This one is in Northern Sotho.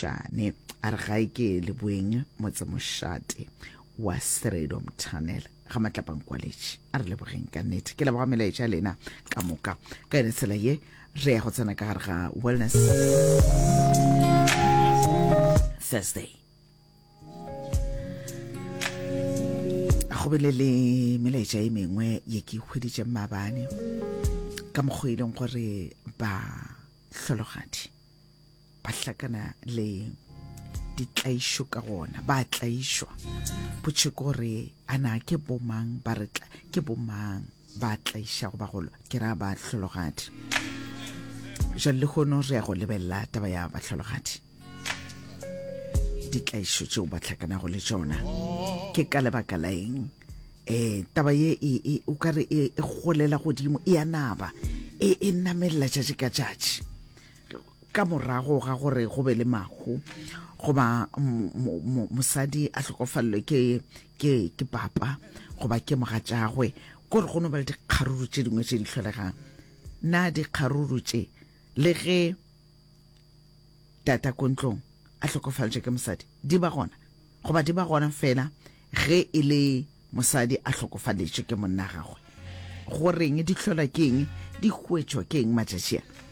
Mošane. A re gae ke Leboeng motsemošate wa Sredom Tunnel ga Matlapang-Kwaletši. A re lebogeng ka nnete. Ke leboga melaetša ya lena ka moka. Ka yone tsela ye re ya go tsena ka gare ga Wellness Thursday. Go bile le melaetša e mengwe ye ke e hweditšeng maabane ka mokgwa e leng gore ba hlologadi ba hlakana le ditlaišo ka gona, ba tlaišwa. Potšo ke gore a na ke bomang ba re tla ke bomang ba tlaišago bagolo, ke ra ba hlologadi. Jwale lehono re ya go lebelela taba ya bahlologadi, ditlaišo tšeo ba hlakanago le tšona ke ka lebaka la eng. Um taba ye e, e, o ka re e, e golela godimo, e a naba, e, e namelela tšatši ka tšatši. Ka morago ga gore go be le mahu goba mosadi a hlokofalelwe ke, ke, ke papa goba ke mogatšagwe, kore go no ba le dikgaruru tše dingwe tše di hlolegang. Na dikgaruru tše, le ge tata ko ntlong a hlokofaletšwe ke mosadi, di ba gona goba di ba gona fela ge e le mosadi a hlokofaletšwe ke monna gagwe? Goreng di hlolwa ke eng? Di hwetšwa ke eng matšatši a?